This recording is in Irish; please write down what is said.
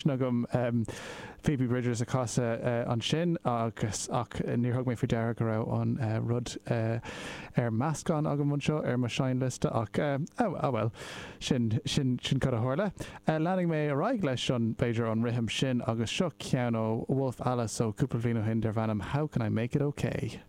Agam Phoebe Bridgers a chasadh ansin agus ach níor thug mé faoi deara go raibh an rud ar meascán agam anseo ar mo seinnliosta ach ah well, sin sin sin cad a tharla. Leanfaidh mé ar aghaidh leis an b'fhéidir an rithim sin agus seo ceann ó Wolf Alice ó cúpla bliain ó shin darb ainm How Can I Make It Okay?